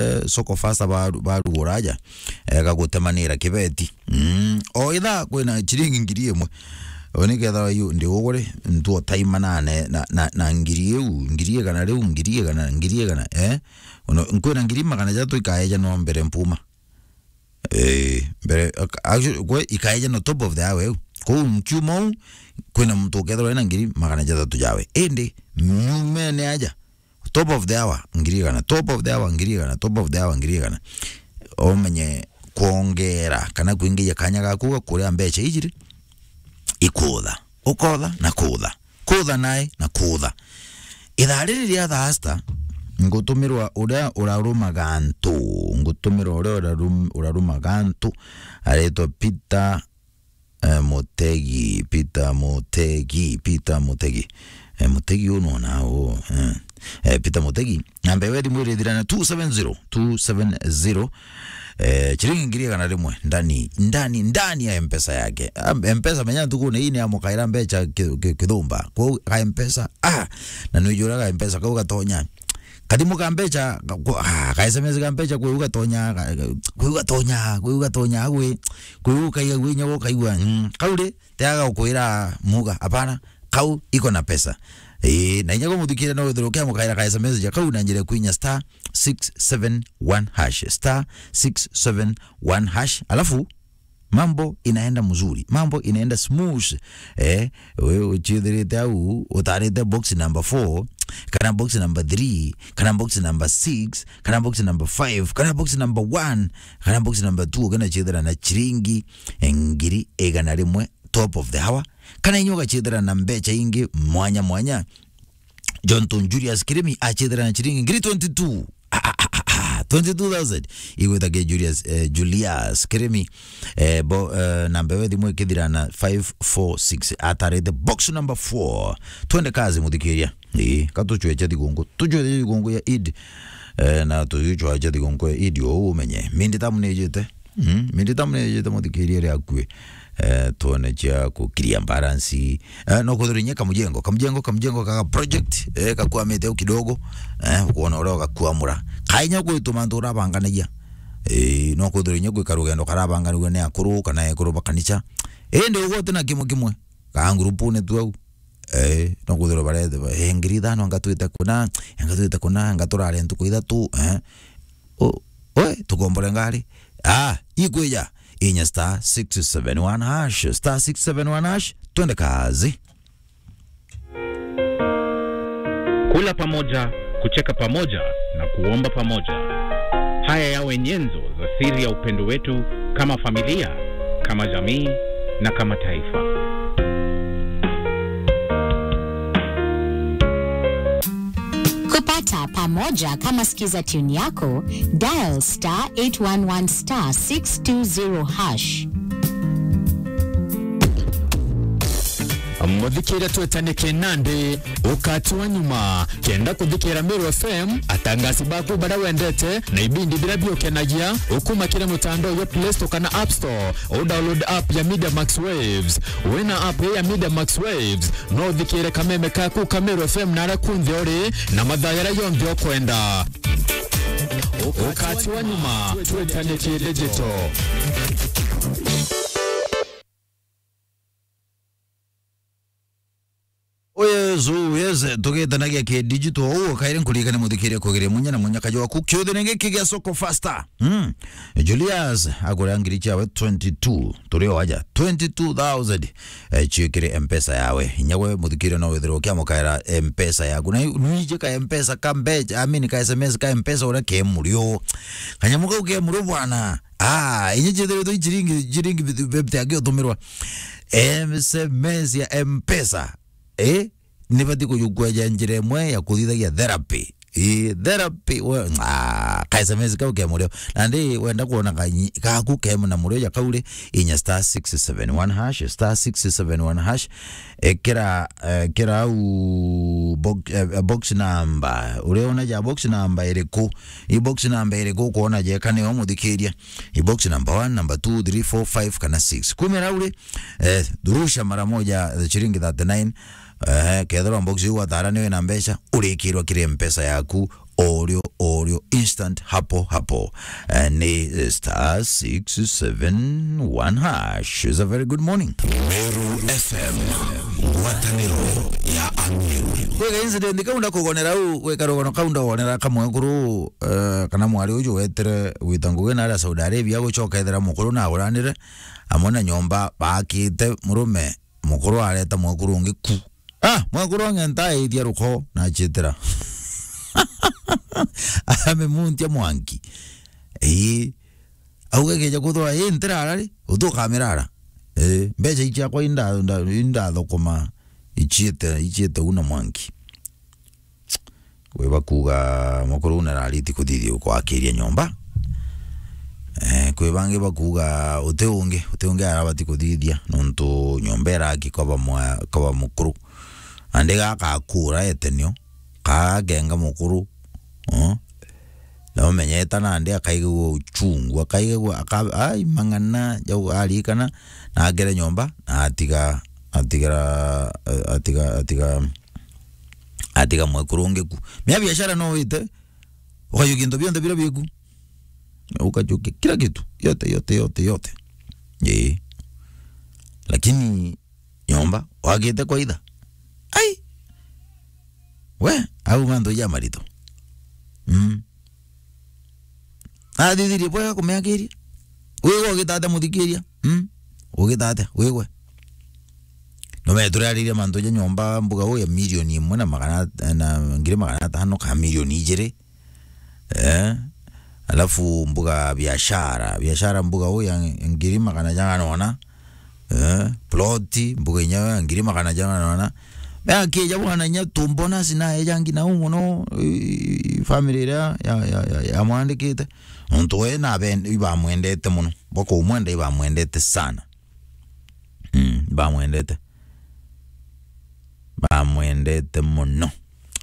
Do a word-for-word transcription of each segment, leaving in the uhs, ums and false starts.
eh, Soko Fasta baru-, barugura aja, eh, gagutemanira kibeti. Mm. O ithaa kwina chiringi ngiri imwe. O niketha yu ndi ugure, ntuo taima nane, na, na, na ngiri iu, ngiri igana riu, ngiri igana, ngiri igana, eh? Ono, nkwina ngiri magana jatatu ikaeja no mbere mpuma. Eh, mbere, ac-, actually, kwe ikaeja no top of the hour eu. Kou nkiuma uu, kwina muntu ukethirwa ena ngiri magana jatatu jawe. Indi, nyumene aja, top of the hour, ngiri igana, top of the hour, ngiri igana, top of the hour, ngiri igana. Umenye kwongera kana kwingia kanya gaku ga kuria mbeca ijiri, ikutha. Ukotha na kutha. Kutha nae na kutha. Ithaa riri ria thaasta, ngutumirwa uria urarumaga antu, ngutumirwa uria urarum-, urarumaga antu, aretwa Peter, eh, Mutegi, Peter Mutegi, Peter Mutegi. Eh, Mutegi uu nona uu, eh. Eh, Peter Mutegi. Namba ya thimu irithira na two seven zero, two seven zero. Eh, chiringi ngiri igana rimwe ndani, ndani, ndani ya Mpesa yake. Ah, Mpesa menya ntukune ii ni amukaira mbeca ki-, ki-, kithumba. Kwou ka Mpesa, ah, na nwijura ka Mpesa kau gatonya. Kathimu ka mbeca, ka, ku-, ah, ka S M S ka mbeca, kwi u gatonya, ka, ka, kwi u gatonya, kwi u gatonya, gwi, kwi u kaiga, gwi nyago kaigua, mm, kau ri, teaga gukwira muga, apana, kau iko na pesa. Ii, na inya gumuthikira no withirwe ukiamukaira ka S M S ja kau na njira ya kwinya star six seven one hash, star six seven one hash, alafu mambo inaenda mzuri, mambo inaenda smooth. Eh, we uchithirite au, utarite box number four, kana box number three, kana box number six, kana box number five, kana box number one, kana box number two, kana chithira na chiringi ngiri igana rimwe top of the hour, kana inya ugachithira na mbeca ingi mwanya mwanya. Jonathan Julius Kirimi achithira na chiringi ngiri twenty-two. Ah, ah, ah, ah, ah, twenty-two thousand. Igwita ke Julius, eh, Julius Kirimi. Eh, bo, eh, namba ya thimu ikithira na five four six. Atarite box number four. Twende kazi, muthikiria. Ii, ka tuchweche thigunku. Tuchweche thigunku ya Eid. Eh, na tuchweche thigunku ya Eid, o umenye. Mindi tamu ni ijite. Mm, mindi tamu ni ijite, muthikiria, ri akue. Eh, tuone cia kukiria balance. Eh, no kwithirwa inya kamujengo, kamujengo, kamujengo kaka project, eh, gakwamite au kidogo, eh, ukwona uria ugakwamura. Kainya gwituma antu urabanganagia. Eh, no kwithirwa inya gwika rugendo karabanganagua ni akuru kana ekuru ba kanisa. Indi ugwe uti na kimwe kimwe, ka ngurupune tu au. Eh, no kwithirwa barete, eh, ngiri ithano ngatwite kuna, ngatwite kuna, ngaturare ntuku ithatu, eh. O, we, tukombore ngari. Ah, ikwija. Inya star six seven one hash, star six seven one hash, twende kazi. Kula pamoja, kucheka pamoja na kuomba pamoja. Haya yawe nyenzo za siri ya upendo wetu kama familia, kama jamii na kama taifa. Kupata pamoja kama Skiza Tune Yako, dial star eight one one star six two zero hash. Muthikiria, twetane kinandi, ukati wa nyuma. Kenda kuthikira Meru F M, atangasi baku baria wendete, na ibindi biria biukenagia, ukuma kiri mutandao jwa Play Store kana App Store, u download app ya Media Max Waves. Wina app ya Media Max Waves, no uthikire kameme kaku ka Meru F M na aria kunthe uri, na mathaa jaria jonthe ukwenda. Ukati wa nyuma, twetane ki digital. O Yesu, yes, tugitanagia ki digital, uu kairi nkuririkane muthikiria kugeria munya na munya kajwaku. Kiuthene giki gia Soko Fasta. Mm. Julius, akuria ngiri ciawe twenty-two, turi o aja, twenty-two thousand, eh, ciikire Mpesa yawe. Inya gwe muthikiria no withirwe ukiamukaira Mpesa yaku. Na nwiji ka Mpesa ka mbeca, I mean, ka S M S ka Mpesa uria ke murio. Kanyamu kau ke murio bwana. Ah, inya ciithiritwe i ciringi, ciringi fifty, fifty aki utumirwa S M S ya Mpesa. Eh? Nibati kujukweja njira imwe ya kuthithagia therapy. Eh, therapy, we, ah, ka S M S kau ke murio. Nandi wenda kuona kanyi-, gaku ke na murio ja kau ri, inya star six seven one hash, star six seven one hash. Ekira, ekira au box, eh, box number. Uriona ja box number iriku? I box number iriku ukuona jeka niyo muthikiria? I box number one, number two, three, four, five kana six. Kumira uri, eh, rusha mara moja, eh, shilingi thirty-nine. Eh, kethirwa box iu watara niwe na mbeca, urikirwa kiri Mpesa yaku. orio, orio, instant, hapo, hapo. Eh, ni star six seven one hash. It's a very good morning. Meru F M, ngwataniro ya Ameru. Kwega incident kau ndakugonera u, gwika rugono kau ndagonera kamwe kuru, eh, kana mwari uju wetire gwita ngugi na aria Saudi Arabia gucoka ethira mukuru na aguranire, amwe na nyomba baakite murume, mukuru areta mwekuru ungi ku. Ah, mwekuru ang'enta aithia ruko na achitira. Amemuntia mwanki. Ii. Auga keja kuthwa, ii, ntirara ri, utukamirara. Ii, mbeca ici akwa inda, inda, indathukuma, ichiete, ichiete una mwanki. Kwi bakuga mukuru una arariti kuthithia kwakiria nyomba. Eh, kwi bangi bakuga uti ungi, uti ungi arabati kuthithia, nontu nyomba iraki kwaba mwa-, kwaba mukuru. Nandi gaka akura etenio, kagenga mukuru. Oh. Na umenyeta nandi akaigagua uchungu, akaigagua, aka-, ai, mang'ana, jau arikana, na agere nyomba, na atiga, atigara, atiga, atiga, atiga mwekuru ungi ku. Mea biashara no wite, ukajukia into bionthe biria biku. Ukajukia kila kitu, yote, yote, yote, yote. Ii. Lakini nyomba, wakite kwa itha. Ai! We, au mantu ja marito. Mm. Athithirie bwega kumiakiria. Wigwe ugita atia muthikiria? Mm? Ugita atia? Wigwe. No meturariria mantu ja nyomba mbuga uu ya milioni imwe na magana, na ngiri magana atano ka milioni ijiri. Eh? Alafu mbuga biashara, biashara mbuga uu ya ngiri magana jana na ona. Eh, ploti, mbuga inya ya ngiri magana jana na ona. Me akija bwana inya tu bonus na ejangi na u mono, i, family iria ya, ya, ya, ya mwandikite. Nontu we na ben-, ibamwendete mono. Bakumwenda ibamwendete sana. Mm, ibamwendete. Bamwendete mono.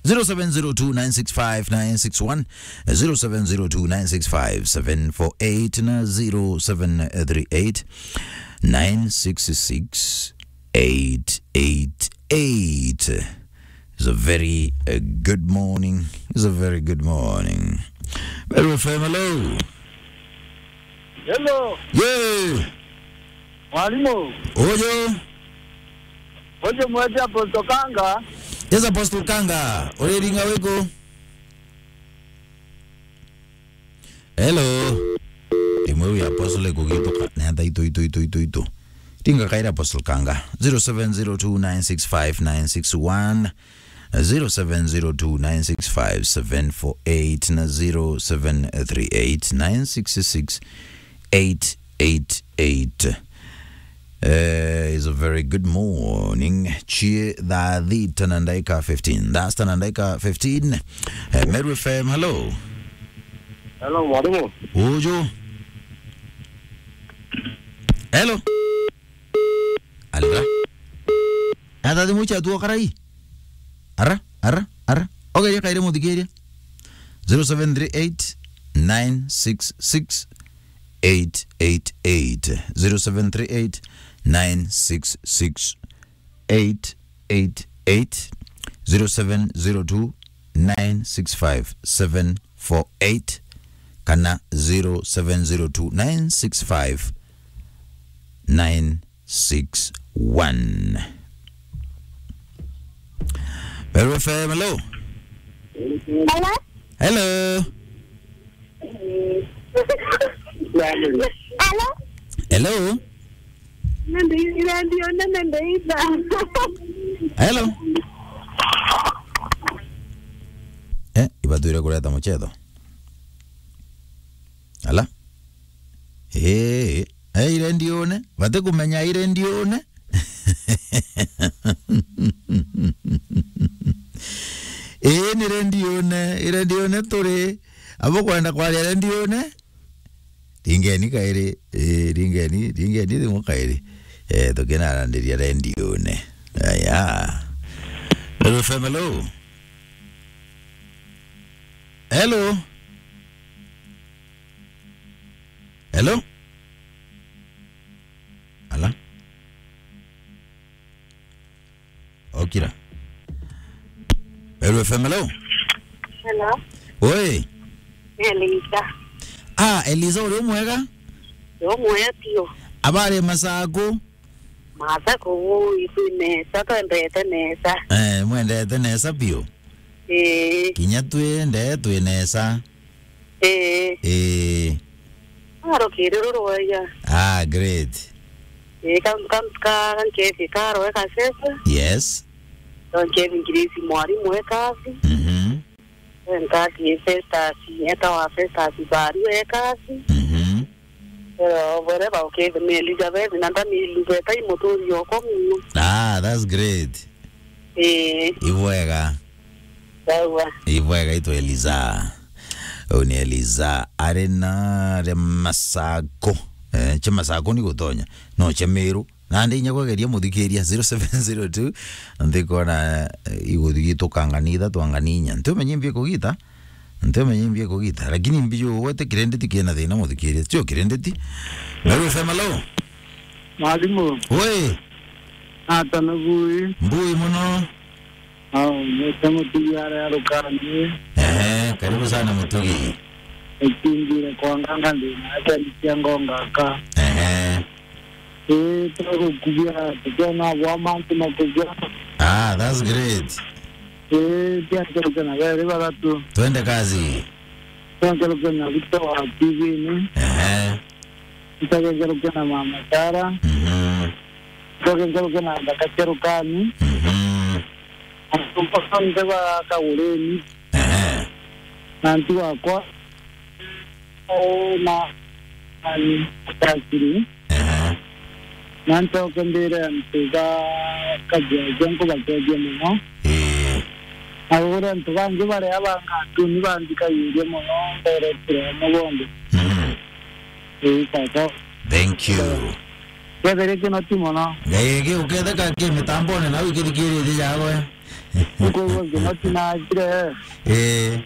Zero seven zero two nine six five nine six one, zero seven zero two nine six five seven four eight na zero seven three eight nine six six eight eight eight. It's a very, uh, good morning. It's a very good morning. Meru F M, hello. Hello. Yee. Mwalimu. Uju. Uju mwete Apostle Kanga. Yes, Apostle Kanga. Uriringa wiku? Hello. Imwe wi Apostle kugituka. Nenda itu, itu, itu, itu, itu. Ringa kaira Apostle Kanga. Zero seven zero two nine six five nine six one. Zero seven zero two nine six five seven four eight na zero seven three eight nine six six eight eight eight. Eh, is a very good morning. Chie thaa thita na ndaika fifteen. That's the ndaika fifteen. Eh, Meru F M, hello. Hello, mwalimu. Uju. Hello. Alra. Ata thimu cia tuo karai. Ara, ara, ara. Ogeria kaire muthikiria. Zero seven three eight nine six six eight eight eight. Zero seven three eight nine six six eight eight eight. Zero seven zero two nine six five seven four eight. Kana zero seven zero two nine six five nine six one. Meru F M, hello. Hello? Hello. Hello? Hello? Nende ira ndio nene ndeitha. Hello? Eh, ibatwire kureta muchetho. Ala? Eh, eh, ire ndione. Bati kumenya ire ndione. Ii ni rendione, rendione turi. Abo kwenda kwaria rendione? Ringeni kairi, ii, ringeni, ringeni thimu kairi. Eh, tukinarandiria rendione. Aya. Meru F M, hello. Hello. Hello. Ala. Okira. Meru F M, hello. Hello. Oi. Eliza. Ah, Eliza, uri umwega? Ndi umwega piu. Abari Masaku? Masaku, ui, twi nesa, twendete nesa. Eh, mwendete nesa piu? Ii. Kinya twi nde, twi nesa. Ii. Ii. Arukiri rurwaya. Ah, great. Ii, ka, ka, ka, ka nkethi karo eka sese. Yes. Ka nkethi ngirisi mwarimu ekathi. Mhm. Nkathi Festus, eta wa Festus Baru ekathi. Mhm. Ero, wherever ukethimia Elizabeth, na ndamilugeta i muturi okwa muno. Ah, that's great. Ii. Ibwega. Sawa. Ibwega itu Eliza. Uu ni Eliza. Ari na ri Masako. Eh, cia Masako ni gutonya. No cia Miru. Nandi inya kwegeria muthikiria zero seven zero two, ntikwona, eh, iguthigituka ngani ithatu ngani inya. Ntiumenye mbi kugita, ntiumenye mbi kugita, lakini mbi ugwete kirendeti kina thina muthikiria. Tio kirendeti. Meru F M, hello? Mwalimu. Oi. Ata nugui? Mbui muno. Au, nite Mutugi aria Rukani. Ehe, karibu sana Mutugi. Ikimbire kwa nganga ndina aciari cia ngongaka. Ehe. Ii, tugukubia, tukiona bwa mantu makubia. Ah, that's great. Ii, tia nkeruke na beri bathatu. Twende kazi. Tia nkeruke na Victor wa T V-ini. Ehe. Ncoke nkeruke na Mama Sara. Mhm. Ncoke nkeruke na Thaka cia Rukani. Mhm. Antu mpaka nte ba Kagureni. Ehe. Na antu bakwa. Eh, na, na, Kasiri. Ehe. Na ncoke mbire antu ba Kajeje nkubakethie muno. Ii. Na ugure antu bangi baria bangatuni banthikagirie muno, mberetire amwe bonthe. Mhm. Ii, tata. Thank you. Kethire kino ti muno. Ngai, gi uketheka ki mitambone nau ikithikiritie jagwe. Nkuigua kino tinagire. Ii.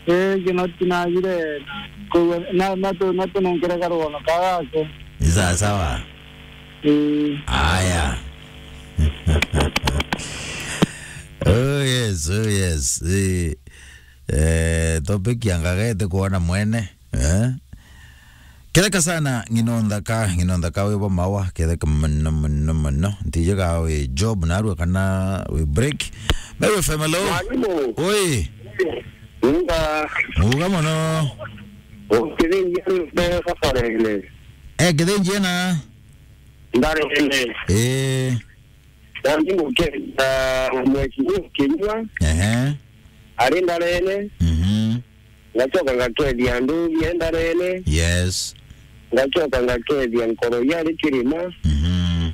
Ii, kino tinagire. Nkuigua, na, na tu, na tunenkere karugono kagake. Ni sawa sawa. Ii. Aya. Oh yes, oh yes. Ii. Eh, topic ya ngagete kuona mwene. Eh? Ketheka sana, ng'ino nthaka, ng'ino nthaka wi bo mawa, ketheka mono, mono, mono. Ntije ga wi Job narua kana wi break. Meru F M, hello? Mwalimu. Oi. Uga. Uga mono. Ukithingia nde Kafarene. Eh, kithinji ena? Ndarene. Eh. Nandi ngukenda Mheshimiwa Kinyua. Ehe. Ari Ndarene. Mhm. Ngacoka ngakethia Nduthi e Ndarene. Yes. Ngacoka ngakethia Nkoro ya ari Kirima. Mhm.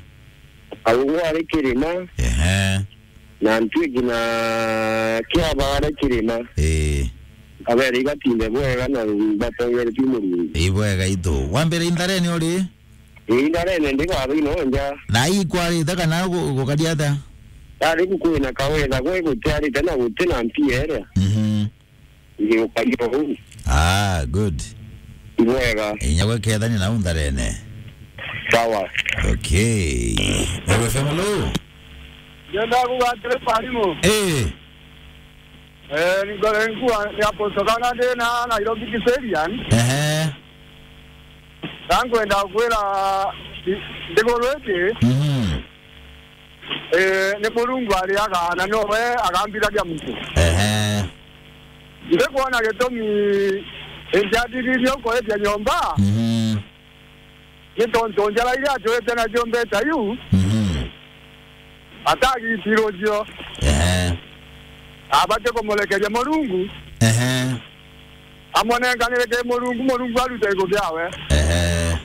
Arugu ari Kirima. Ehe. Na Ntwiki na Kiaba ari Kirima. Ii. Abere ibatinde bwega na batongeretue Murungu. Ibwega itu. Wambere i Ndarene uri? Ii, Ndarene ndi baba ino nja. Na ikwarite kana gu-, gukaria atia? Ndari ku kwina kawetha gwe gutiarite na guti na mpia iria. Mhm. Ngiukaria uu. Ah, good. Ibwega. Inya gwe kethania nau Ndarene. Sawa. Okay. Meru F M, hello? Ndienda kuga atiri, mwalimu. Eh. Eh, ni ngore nkua ni Apostle kana ndi na Nairobi Kiserian. Ehe. Na nkwenda kwira i-, nthiguru iji, mhm, eh, ni Murungu ariaga na nowe agambithagia muntu. Ehe. Ndikwona gitumi injatithirie ukoetia nyomba. Mhm. Ni tontu njara iria atwite nacio mbeca iu, mhm, atagitirwo cio. Ehe. Abati kumurekeria Murungu. Ehe. Amonenkanire ki Murungu, Murungu arute igu biawe. Ehe.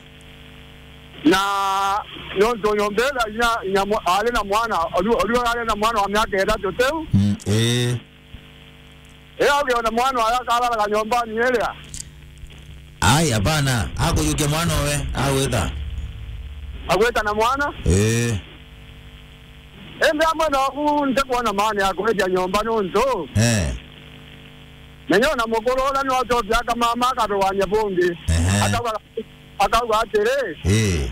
Na nontu nyomba iria inya, inya mwa-, ari na mwana, oru, oru ari na mwana wa miaka ithatu tiu. Mm, ii. Ii, ugiona mwana oyo akararaga nyombani iria? Ai, hapana. Akujukia mwana owe, agwita. Agwita na mwana? Ii. Indi amwe noku ntikwona maana ya kwendia nyomba nontu. Eh. Menya ona mukuru uria no acokia akamama akarugania bungi. Ehe. Akauga, akauga atiri, ii,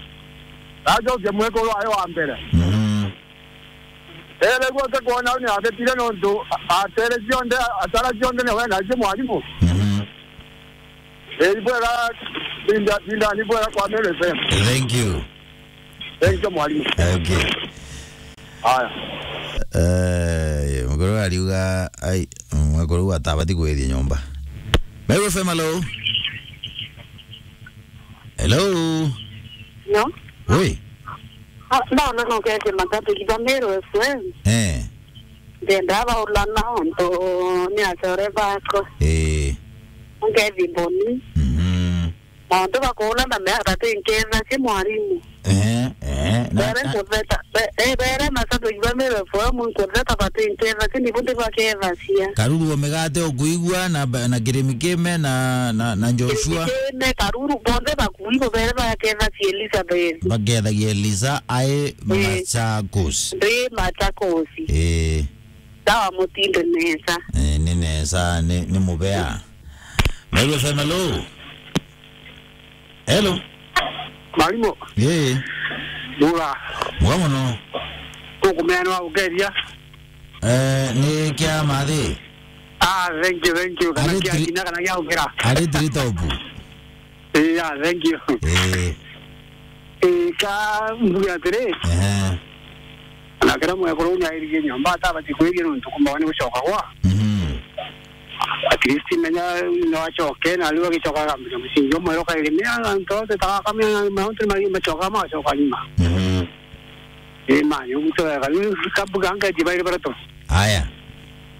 acokie mwikuru ayo wa mbere. Mhm. Ere gwe ke kwona ni abetire nontu a-, atere cionthe, atara cionthe ni we na cio mwarimu. Mhm. Eri bwega, tinda, tinda ni bwega kwa Meru F M. Thank you. Thank you, mwalimu. Okay. Haya. Eh, mukuru ariuga, ai, mukuru atabati kwithia nyomba. Meru F M, hello? Hello? No? Oi? Ah, ndona no kete matatu kiba Meru F M. Eh. Ndenda baula na onto ni acore bako. Eh. Ngethi boni. Mhm. Mauntu bakuula na mea batinketha ki mwarimu. Eh, eh, na, bere na nkutheta, be-, eh, bere mashabiki ba Meru F M nkutheta batinketha ki nibu ndibakethacia. Karuru o migate ukuigua na ba-, na kirimi kime na, na, na Joshua. Kirimi kime, karuru bonthe bakuigua bere bakethacia Elizabeth. Bakethagia Elisa ai Machakos. Ndi Machakos. Eh. Sawa, mutinde nesa. Eh, ni nesa, ni, ni mubea. Meru F M, hello. Hello. Mwalimu. Yee. Buga. Buga mono. Tukumea ni wa gukeria. Eh, ni kia mathi. Ah, thank you, thank you. Kana kia kinya kana kia ukira. Ari tiri top. Eh, yeah, thank you. Eh. Eh, ka mbuge atiri. Ehe. Na kira mwekuru ni airirie nyomba atabati kwiria nontu kumba ni gucoka gwa. Mhm. At least menya no acoke, na riu agicoka akamenya musingi umwe ukairi mea antu ote taka kamenya mauntu ni mari macoka macoka nyuma. Mhm. Ii mani uguto wega riu kabuga ngeti bairi baratu. Aya.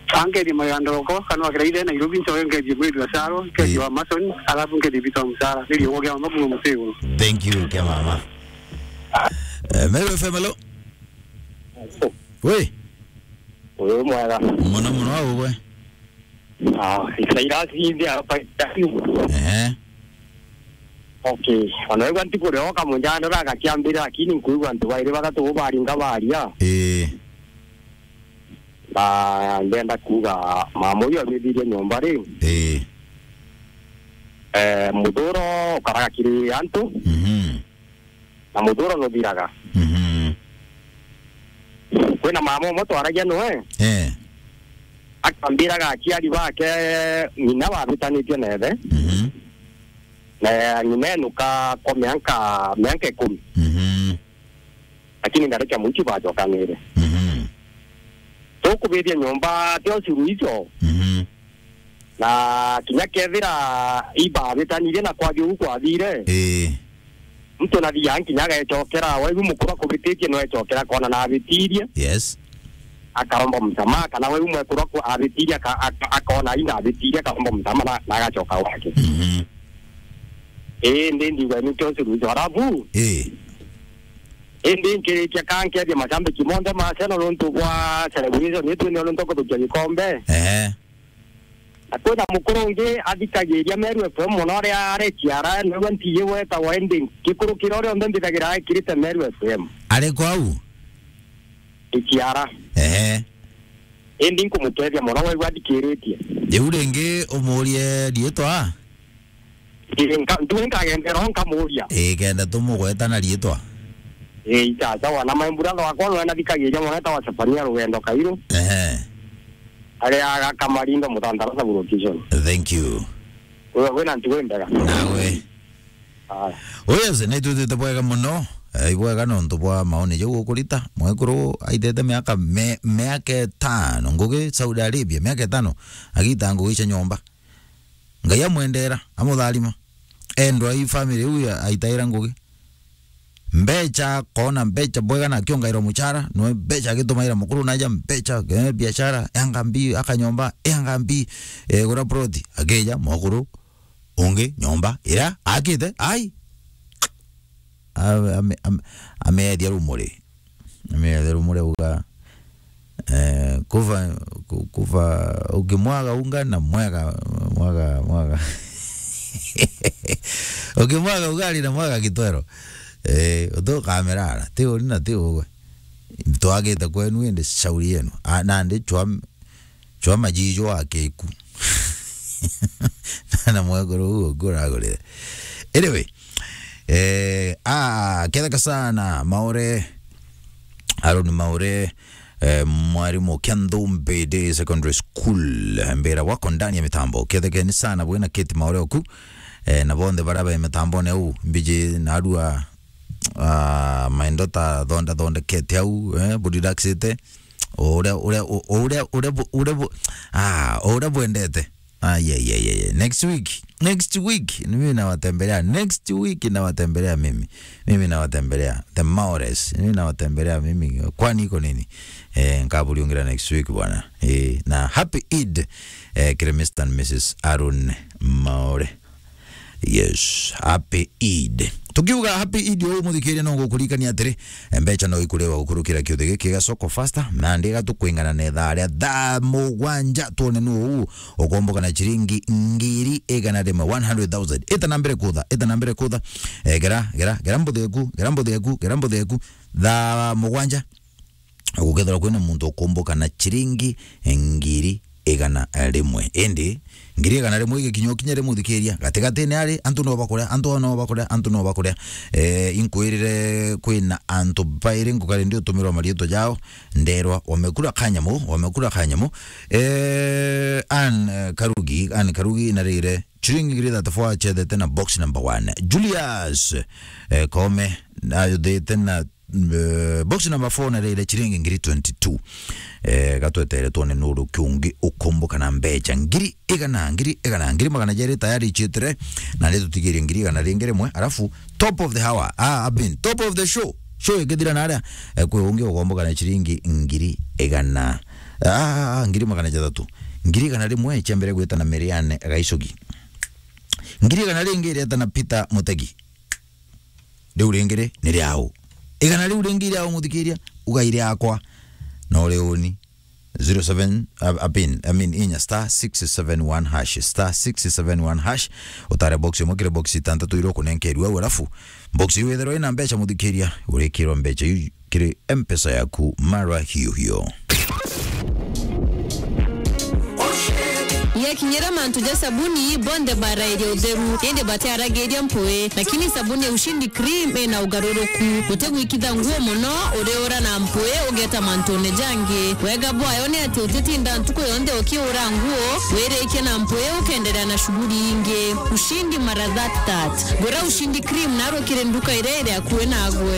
Angeti magandoroko kana wakira ithe Nairobi ncoke ngeti mwiri wa Saro, ngeti wa Mason, alafu ngeti bita msara. Ndio kwa mama mama msego. Thank you kia mama. Eh, Meru F M, hello. We. Uyu mwega. Mono mono, au gwe? Ah, Cyrus Inde hapa. Ehe. Okay. Ona wigua ntikurioka munjandora agakiambira, lakini nkuigua antu bairi bathatu bo baringa baria. Ii. Na ndenda kuuga mama uyu abithirie nyomba ri. Ii. Eh, muthuro ukaraga kiri antu. Mhm. Na muthuro nuthiraga. Mhm. Kwina mama umwe twaragia noe. Eh. Akambiraga aciari bake ng'ina babitanitie na ithe. Mhm. Na ng'ina enuka kwa mianka, mianka ikumi. Mhm. Lakini ndareke mwici bacokanire. Mhm. Tukubithia nyomba tio suluhisho. Mhm. Na kinya kethira ibabitanirie na kwagi uu kwathire, ii, muntu nathia nkinya agecokera, waigu mukuru akubititie no ecokera akona na abitirie. Yes. Akaromba msamaha, kana waigu mwekuru aku-, abitirie aka-, aka-, akona ai na abitirie, akaromba msamaha na, na agacoka gwake. Mhm. Ii, ndi ndigwa ni kio suluhisho. Alafu, ii, indi nkirikia ka nkethia macambiki monthe ma Arsenal nontu bwa celebration itu ni nontu kuthukia gikombe. Ehe. Na kwina mukuru ungi athikagiria Meru F M mono, aria ari Kiara, niwe ntiji wetagwa, indi ngikurukira uria onthe mbithagira ekirite Meru F M. Ari kwau? I Kiara. Ehe. Indi nkumukethia mono, waigua athikiritie. Riu ringi umurie riitwa? Ii, nka-, ntuwe nkagendera o nkamuria. Ii, kenda tumugweta na riitwa. Ii, chacha wana maimbura thwakwa, nwe nathikagiria mono, etagwa Sefania Rugendo Kairu. Ehe. Aria aga Kamarinda Muthantara sub location. Thank you. Uwe wina ntugo imbega. Nawe. Aya. Uyu ase naitwitite bwega mono. Eh, ibwega nontu bwa maoni jau ukurita. Mwekuru aitete miaka me-, miaka itano ngugi Saudi Arabia, miaka itano. Agita ngugi cia nyomba. Ngai amwendera, amutharima. Endwa i family iu ya, aitaira ngugi. Mbecha, kona mbecha bwega na akiongairwa muchara, no mbecha agitumaira mukuru naja mbecha, eh, biashara, yanga mbi, akanyomba, yanga mbi, eh, gura plot, akeja mukuru, ungi, nyomba, ira, akite, ai. Ame-, ame-, ame-, ameethia rumuri. Ameethia rumuri auga, eh, kuva, ku-, kuva, ukimwaga unga na mwaga, mwaga, mwaga. Ukimwaga ugali na mwaga kitwero. Eh, utukamerara. Ti uri na ti ugwe. Twagite kwenu indi shauri yenu. A, nandi chwa Chwa majijo akeku. Na mwekuru uguo nguragurire. Anyway, eh, ah, ketheka sana, Maore, Aaron Maore, eh, mwarimu kia Nthumbi Day Secondary School, mbira wako ndani ya mitambo. Kethekeni sana bwina Kate Maore oku, eh, na bonthe baria be mitambone uu, mbiji narua, ah, maindo ta thonda thondekete au, eh, bu relaxite. O uria, uria, o, o uria, uria bu-, uria bu-, ah, o uria bwendete. Ai, ai, ai, ai, ai. Next week. Next week. Mimi nawatembelea. Next week nawatembelea mimi. Mimi nawatembelea. The Maores. Mimi nawatembelea mimi. Kwani iko nini? Eh, nkaburiungira next week bwana. Eh, na happy Eid, eh, kiri Mister and Missus Aaron Maore. Yes, happy Eid. Tukiuga happy Eid, uu muthikiria no ngukurikania atiri, mbeca no ikuriwa gukurukira kiuthi giki gia Soko Faster, na ndiga tukwingana na ithaa ria thaa mugwanja, twone nu uu ukomboka na ciringi ngiri igana rimwe, one hundred thousand. Ita na mbere kutha, ita na mbere kutha. Eh, gera, gera, gera mbuthi eku, gera mbuthi eku, gera mbuthi eku. Thaa mugwanja. Gukethirwa kwina muntu ukumbuka na ciringi ngiri igana rimwe. Indi, ngiri igana rimwe igikinya ukinya ri muthikiria, gatigatine ari, antu no bakuria, antu no bakuria, antu no bakuria. Eh, inkwirire kwina antu bairi ngukari ndi utumirwa mariitwa jao, nderwa, "Wamekula kanyamu, wamekula kanyamu." Eh, Ann, eh, Karugi, Ann Karugi narire ciringi ngiri thirty-four acethete na box number one. Julius, eh, Kome, ayuthite na, eh, box number four na rire ciringi ngiri twenty-two. Eh, gatwetere twone nuru kiungi ukumbuka na mbeca. Ngiri igana, ngiri igana, ngiri magana jeri tayari ichitire, na ni tutigirie ngiri igana ringi rimwe, alafu top of the hour, ah, I mean, top of the show, show ikithira naria, eh, kwi ungi ukomboka na ciringi ngiri igana. Ah, ngiri magana jathatu. Ngiri igana rimwe cia mbere gwita na Miriane Gaicogi. Ngiri igana ringi ireta na Peter Mutegi. Riu ringi ri, ni riau. Igana riu ringi riau, muthikiria, ugai riakwa. No riuni. Zero seven, uh, a pin, I mean, inya star six seven one hash, star six seven one hash. Utare box imwe kiri box itantatu iria ukunenkerua au, alafu box iu ithirwa ina mbeca, muthikiria, urikirwa mbeca iu kiri M-Pesa yaku mara hiyo hiyo. Yakinyira mantu ja sabuni, bonthe barairia utheru, indi batiaragiria mpui. Lakini sabuni ya Ushindi Cream ina ugaruruku. Utigwikitha nguo mono, uriura na mpui, ugeta mantune jangi. Wega bwayo ni ati utitinda ntuku yonthe ukiura nguo, wirikia na mpui, ukenderea na shughuli ingi. Ushindi mara that that. Gura Ushindi Cream narua kiri nduka iria iri akui nagwe.